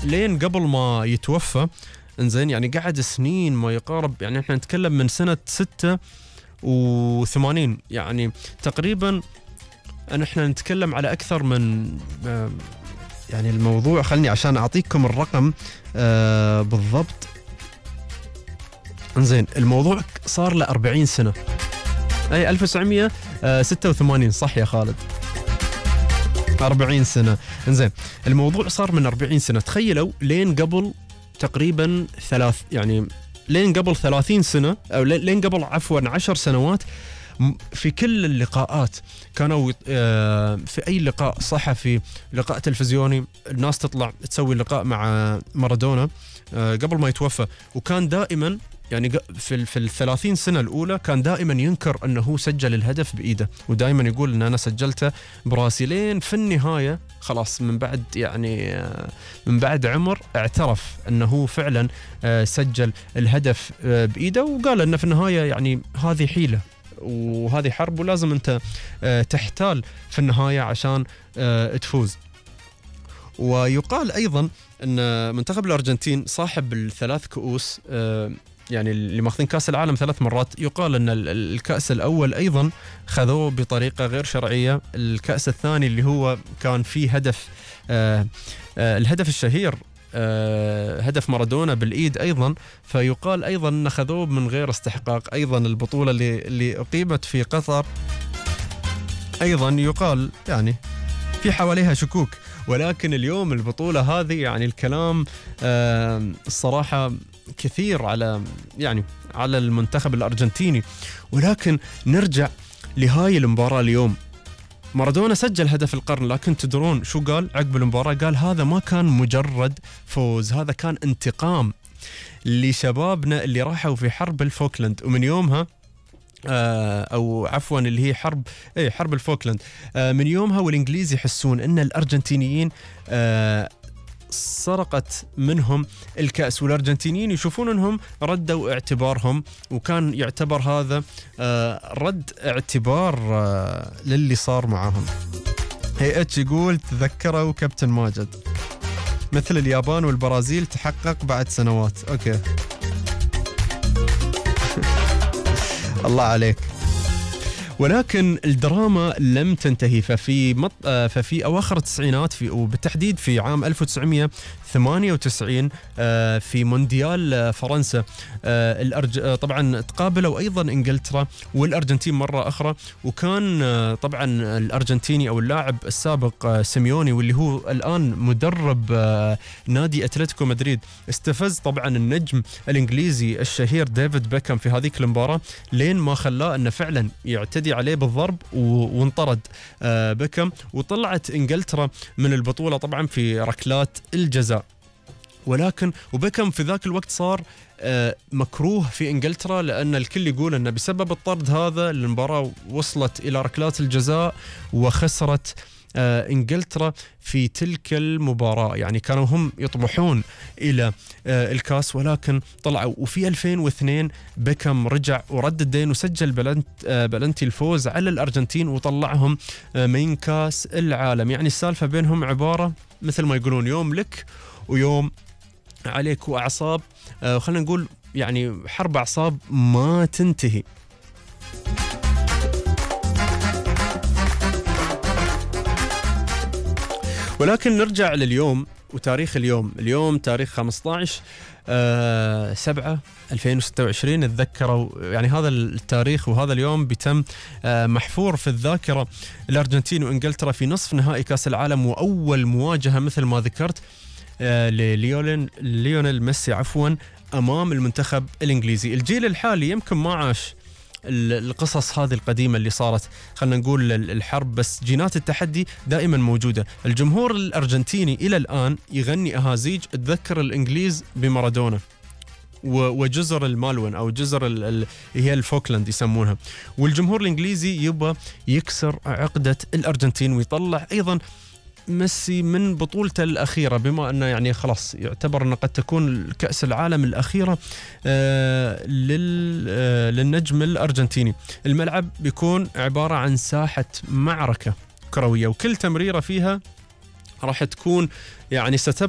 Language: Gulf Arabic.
لين قبل ما يتوفى. انزين يعني قعد سنين ما يقارب، يعني احنا نتكلم من سنة 86، يعني تقريبا احنا نتكلم على اكثر من يعني الموضوع، خلني عشان اعطيكم الرقم بالضبط. انزين الموضوع صار له 40 سنة، اي 1986 صح يا خالد، 40 سنة. انزين الموضوع صار من 40 سنة، تخيلوا لين قبل تقريبا يعني لين قبل 30 سنة او لين قبل عفوا 10 سنوات في كل اللقاءات كانوا في أي لقاء صحفي، لقاء تلفزيوني، الناس تطلع تسوي لقاء مع مارادونا قبل ما يتوفى، وكان دائما يعني في 30 سنة الأولى كان دائما ينكر أنه سجل الهدف بإيده، ودائما يقول أن أنا سجلته براسي. لين في النهاية خلاص من بعد يعني من بعد عمر اعترف أنه فعلا سجل الهدف بإيده، وقال أنه في النهاية يعني هذه حيلة وهذه حرب، ولازم أنت تحتال في النهاية عشان تفوز. ويقال أيضا أن منتخب الأرجنتين صاحب الثلاث كؤوس، يعني اللي ماخذين كأس العالم 3 مرات، يقال أن الكأس الأول أيضا خذوه بطريقة غير شرعية. الكأس الثاني اللي هو كان فيه هدف الهدف الشهير هدف مارادونا بالإيد أيضا، فيقال أيضا أن خذوه من غير استحقاق. أيضا البطولة اللي أقيمت في قطر أيضا يقال يعني في حواليها شكوك، ولكن اليوم البطولة هذه يعني الكلام الصراحة كثير على يعني على المنتخب الأرجنتيني. ولكن نرجع لهاي المباراة اليوم، مارادونا سجل هدف القرن، لكن تدرون شو قال عقب المباراة؟ قال هذا ما كان مجرد فوز، هذا كان انتقام لشبابنا اللي راحوا في حرب الفوكلاند. ومن يومها أو عفوا اللي هي حرب الفوكلاند، من يومها والإنجليز يحسون أن الأرجنتينيين سرقت منهم الكأس، والأرجنتينيين يشوفون أنهم ردوا اعتبارهم، وكان يعتبر هذا رد اعتبار للي صار معهم. اتش يقول تذكروا كابتن ماجد، مثل اليابان والبرازيل تحقق بعد سنوات. أوكي الله عليك. ولكن الدراما لم تنتهي، ففي أواخر التسعينات وبالتحديد في عام 1998 في مونديال فرنسا طبعا تقابلوا أيضا إنجلترا والأرجنتين مرة أخرى، وكان طبعا الأرجنتيني أو اللاعب السابق سيميوني واللي هو الآن مدرب نادي أتلتيكو مدريد استفز طبعا النجم الإنجليزي الشهير ديفيد بيكهام في هذيك المباراة، لين ما خلاه أنه فعلا يعتدي عليه بالضرب وانطرد بيكهام، وطلعت إنجلترا من البطولة طبعا في ركلات الجزاء. ولكن وبيكهام في ذاك الوقت صار مكروه في إنجلترا، لأن الكل يقول أنه بسبب الطرد هذا المباراة وصلت إلى ركلات الجزاء وخسرت إنجلترا في تلك المباراة. يعني كانوا هم يطمحون إلى الكاس ولكن طلعوا. وفي 2002 بيكهام رجع ورد الدين وسجل بلنتي الفوز على الأرجنتين وطلعهم من كاس العالم. يعني السالفة بينهم عبارة مثل ما يقولون يوم لك ويوم عليك، وأعصاب خلينا نقول يعني حرب أعصاب ما تنتهي. ولكن نرجع لليوم وتاريخ اليوم تاريخ 15/7/2026. اتذكروا يعني هذا التاريخ وهذا اليوم بيتم محفور في الذاكرة. الأرجنتين وإنجلترا في نصف نهائي كأس العالم، وأول مواجهة مثل ما ذكرت لليونيل ميسي أمام المنتخب الإنجليزي. الجيل الحالي يمكن ما عاش القصص هذه القديمة اللي صارت، خلنا نقول الحرب، بس جينات التحدي دائما موجودة. الجمهور الأرجنتيني إلى الآن يغني أهازيج تذكر الإنجليز بمارادونا وجزر المالون أو جزر هي الفوكلاند يسمونها، والجمهور الإنجليزي يبغى يكسر عقدة الأرجنتين ويطلع أيضا ميسي من بطولته الأخيرة، بما أنه يعني خلاص يعتبر أنه قد تكون كأس العالم الأخيرة للنجم الأرجنتيني. الملعب بيكون عبارة عن ساحة معركة كروية، وكل تمريرة فيها راح تكون يعني ستبقى